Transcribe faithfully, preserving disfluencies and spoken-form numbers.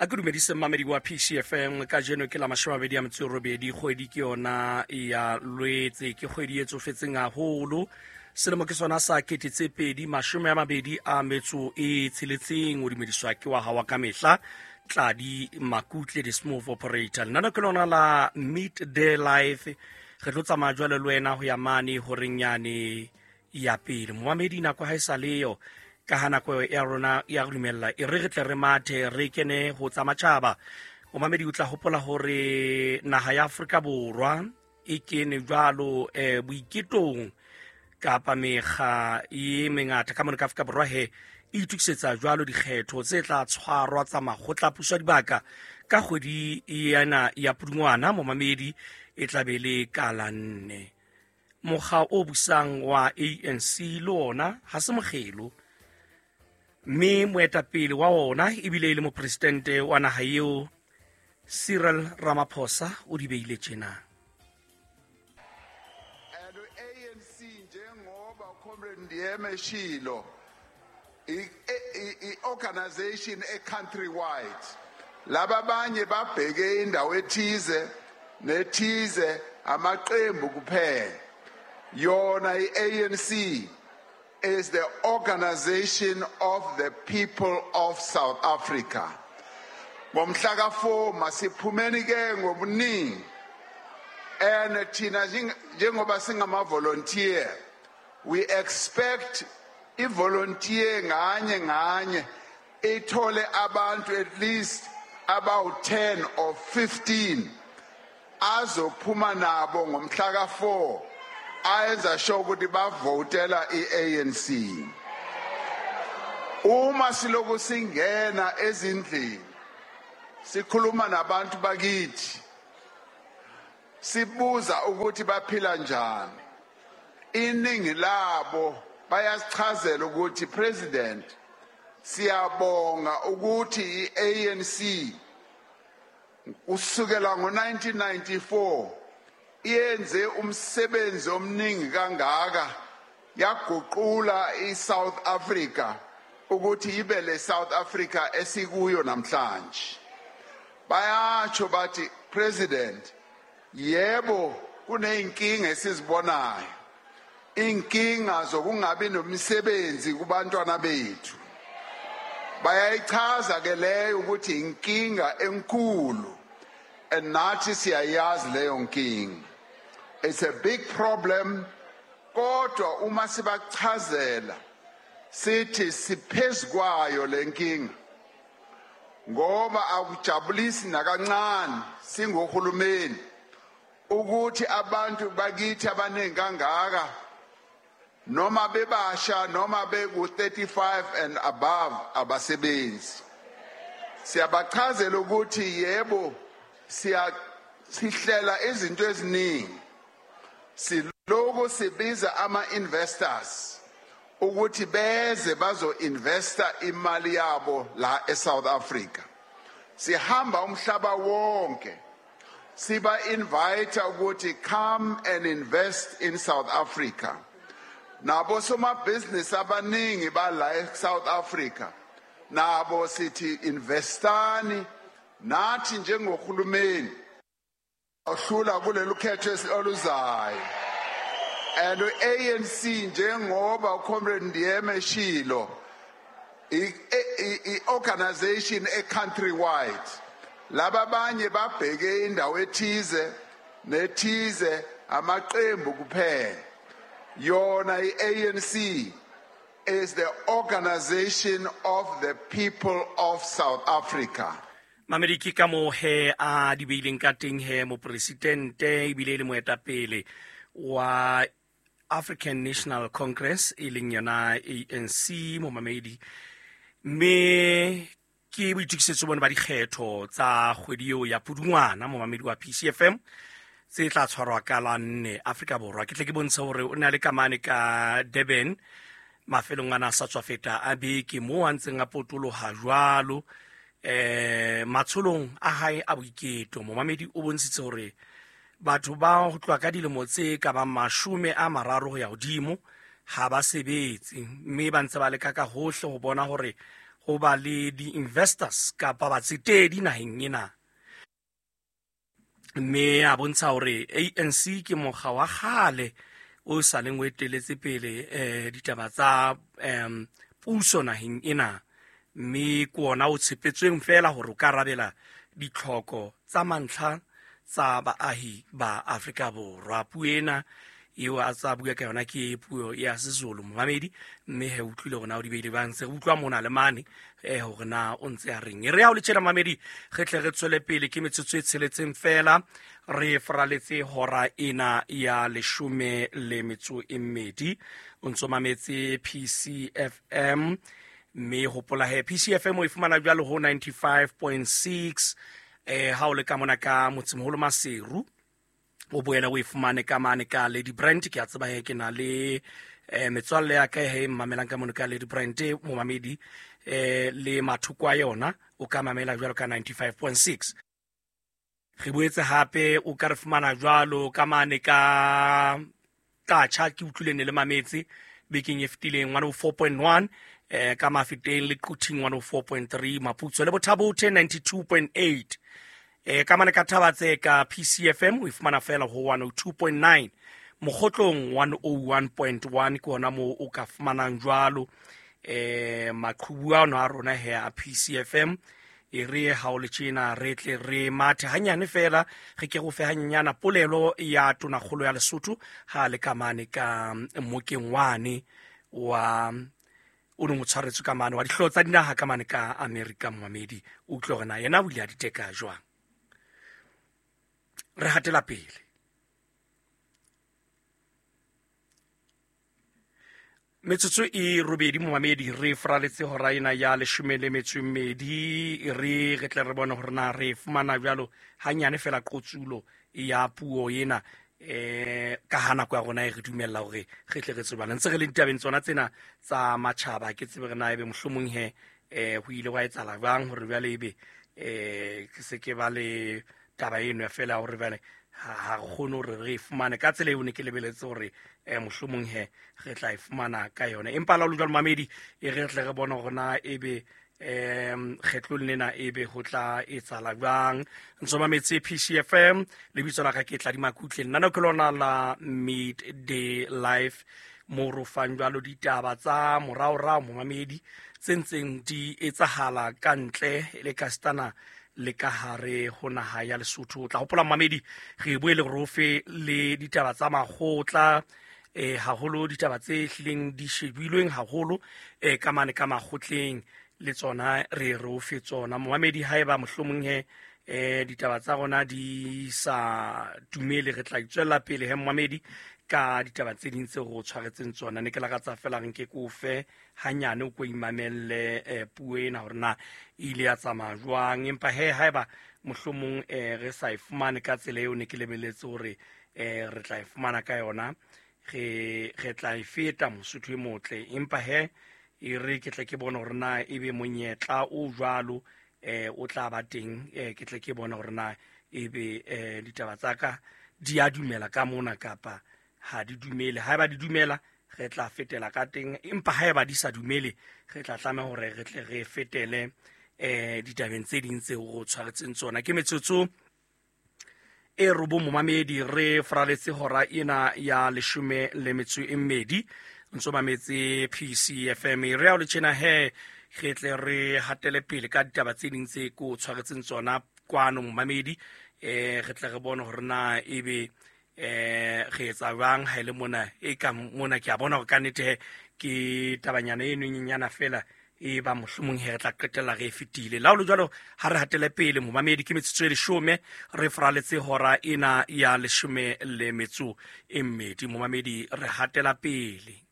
A ke dumedise mmamedi wa P C F M. Kajeno ke la mashome a mabedi a metso e robedi, kgwedi ke yona ya Lwetse, ke kgwedi e tsofetseng haholo. Selemo ke sona sa kete tse pedi mashome a mabedi a metso e tsheletseng. O dumediswa ke wa hao wa kamehla, Tladi Makutle, the smooth operator. Lenaneo ke lona la Midday Life. Re tlo tsamaya jwale le wena ho ya mane horeng yane ya pele. Momamedi, nako ha e sa leyo, ka ha nako ya rona ya re dumella, e re re tle re mathe re kene ho tsa matjhaba. Momamedi, o tla hopola hore naha ya Afrika Borwa e kene jwalo, eh, boiketong kapa mekga e mengata ka mona ka Afrika Borwa he e itokisetsa jwalo dikgetho tse tla tshwarwa tsa makgotla a puso ya dibaka ka kgwedi ena ya Pudungwana. Momamedi, e tla be le ka la nne. Mokga o busang wa A N C le ona ha se mokgelo, mme moetapele wa ona ebile e le mopresidente wa naha eo, Cyril Ramaphosa, o di beile tjena. And A N C njengoba Comrade Ndiema eshilo, i-organization e countrywide. Laba abanye babheke indawo ethize nethize, amaqembu kuphela. Yona i-A N C is the organization of the people of South Africa. Ngomhla ka four masiphumeni ke ngobuningi. And thina njengoba singama volunteer, we expect i volunteer nganye nganye ithole abantu at least about ten or fifteen azophuma nabo ngomhla ka four, ayenza sure ukuthi bavotela i-A N C. Uma siloku singena ezindlini sikhuluma nabantu bakithi, sibuza ukuthi baphila njani, iningi labo bayasichazela ukuthi President, siyabonga ukuthi i-A N C kusukela ngo nineteen ninety-four iyenze umsebenzi omningi kangaka, yaguqula i-South Africa ukuthi ibe le South Africa esikuyo namhlanje. Bayatsho bathi President, yebo kuneyinkinga esizibonayo, inkinga zokungabi nomsebenzi kubantwana bethu. Bayayichaza ke leyo ukuthi inkinga enkulu, and nathi siyayazi leyo nkinga. It's a big problem, kodwa uma sibachazela sithi siphezu kwayo le nkinga, ngoba akujabulisi nakancane singohulumeni ukuthi abantu bakithi abaningi kangaka, noma bebasha noma beku thirty-five and above, abasebenzi. Siyabachazela ukuthi yebo siya sihlela izinto eziningi, siloku sibiza ama-investors ukuthi beze bazo-investa imali yabo la e-South Africa. Sihamba umhlaba wonke siba invite ukuthi come and invest in South Africa. Nabo somabhizinisi abaningi bala e-South Africa, nabo sithi investani nathi njengohulumeni ohlula kulelu khetho oluzayo. And A N C njengoba uComrade Ndiema eshilo, i-organization e countrywide. Laba abanye babheke indawo ethize nethize, amaqembu kuphela. Yona i-A N C is the organization of the people of South Africa. Mamedi, ke ka moo he a di beileng ka teng he mopresidente ebile e le moetapele wa African National Congress, e leng yona A N C, momamedi. Mme ke boitokisetso bone ba dikgetho tsa kgwedi eo ya Pudungwana, momamedi wa P C F M, tse tla tshwarwa ka la nne Afrika Borwa. Ke tle ke bontshe hore o na le kamane ka Durban mafelong ana a sa tswa feta a beke, moo a ntseng a potoloha jwalo eh matsholong a hae a boiketo. Momamedi, o bontshitse hore batho ba ho tloha ka dilemo tse ka bang mashome a mararo ho ya hodimo ha ba sebetse, mme ba ntse ba leka ka hohle ho bona hore ho ba le di-investors kapa batsetedi naheng ena. Mme a bontsha hore A N C ke mokga wa kgale o sa leng o eteletse pele eh ditaba tsa em puso naheng ena, mme ke ona o tshepetsweng fela hore o ka arabela ditlhoko tsa mantlha tsa baahi ba Afrika Borwa. Puo ena eo a tsa bua ka yona ke puo ya Sezulu momamedi, mme he utlwile hore na o di beile bang, se utlwa mona le mane eh hore na o ntse a reng. E re ha o le tjena mamedi, re tle re tswele pele ke metsotso e tsheletseng fela re fraletse hora ena ya leshome le metso e mmedi. O ntso mametse P C F M, mme hopola he P C F M o e fumana jwalo ho ninety-five point six eh ha o le ka mona ka motsemoholo Maseru, o boela o e fumane ka mane ka Lady Brand. Ke a tseba he ke na le eh metswalle ya ka he mamelang ka mona ka Lady Brand momamedi eh le mathoko a yona o ka mamela jwalo ka ninety-five point six. Re boetse hape o ka re fumana jwalo ka mane ka Kacha, ke utlwile ne le mametse bekeng e fetileng one oh four point one eh ka Mafeteng le Quthing one oh four point three, Maputsoe le Bothabothe ninety-two point eight. Eh ka mane ka Thabatse ka P C F M o e fumana fela ho one oh two point nine, Mokgotlong one oh one point one ke hona moo o ka fumanang jwalo eh maqhubu ano a rona he a P C F M. E re ha o le tjena re tle re mathe hanyane fela, re ke go fe hanyana polelo ya tonakgolo ya Lesotho ha le ka mane ka mokeng wane wa o neng o tshwaretswe ka mane wa dihlooho tsa dinaha ka mane ka Amerika momamedi. O utlwe hore na yena o ile a di teka jwang. Re hatela pele. Metsotso e robedi momamedi, re fraletse hora ena ya leshome le metso e mmedi. Re re tle re bone hore na re fumana jwalo hanyane fela qotsulo ya puo ena eh ka ha nako ya rona e re dumella hore re tle re tsebane. Ntse re le ditabeng tsona tsena tsa matjhaba, ke tsebe re na ebe mohlomong he eh ho ile wa etsahala jwang hore jwale ebe eh ke se ke ba le taba eno ya fela hore jwale ha re kgone hore re e fumane ka tsela eo ne ke lebeletse hore eh mohlomong he re tla e fumana ka yona. Empa la o le jwalo mamedi, e re tle re bone hore na ebe em kgetlong lena ebe ho tla etsahala jwang. Ntso mametse P C F M, lebitso la ka ke Tladi Makutle, nna ke lona la Midday Live mo ro fang jwalo ditaba tsa moraorao momamedi tse ntseng di etsahala ka ntle le ka stana le ka hare ho naha ya Lesotho. O tla hopola mamedi, re boele re fe le ditaba tsa makgotla eh haholo ditaba tse hlileng di shebilweng haholo eh ka mane ka makgotleng le tsona re re o fe tsona momamedi. Haeba mohlomong he eh ditaba tsa rona di sa dumele, re tla itswella pele he momamedi ka ditaba tse ding tse re o tshwaretseng tsona. Ne ke lakatsa fela re nke ko fe hanyane o ko imamelle eh, puo ena hore na e ile ya tsamaya jwang. Empa he haeba mohlomong eh, re sa e fumane ka tsela eo ne ke lebeletse hore eh, re tla e fumana ka yona, re re tla e feta Mosotho e motle. Empa he e re ke tle ke bone hore na ebe monyetla o jwalo eh o tla ba teng, eh ke tle ke bone hore na ebe eh ditaba tsa ka di a dumela ka mona kapa ha di dumele. Haeba di dumela re tla fetela ka teng, empa haeba di sa dumele re tla tlameha hore re tle re fetele eh ditabeng tse ding tseo re tshwaretseng tsona. Ke metsotso e robong momamedi, re fraletse hora ena ya leshome le metso e mmedi. Ntso mametse P C F M. Re a o le tjena he re tle re hatele pele ka ditaba tse ding tse ko tshwaretseng tsona kwano momamedi. Eh re tle re bone hore na ebe eh re etsa jwang ha ile mona e ka mona. Ke a bona hore ka nnete he ke tabanyana eno e nyenyana fela e ba mohlomong he re tla qetella re e fetile. La ho le jwalo ha re hatele pele momamedi, ke metsotso e leshome re fraletse hora ena ya leshome le metso e mmedi momamedi, re hatela pele.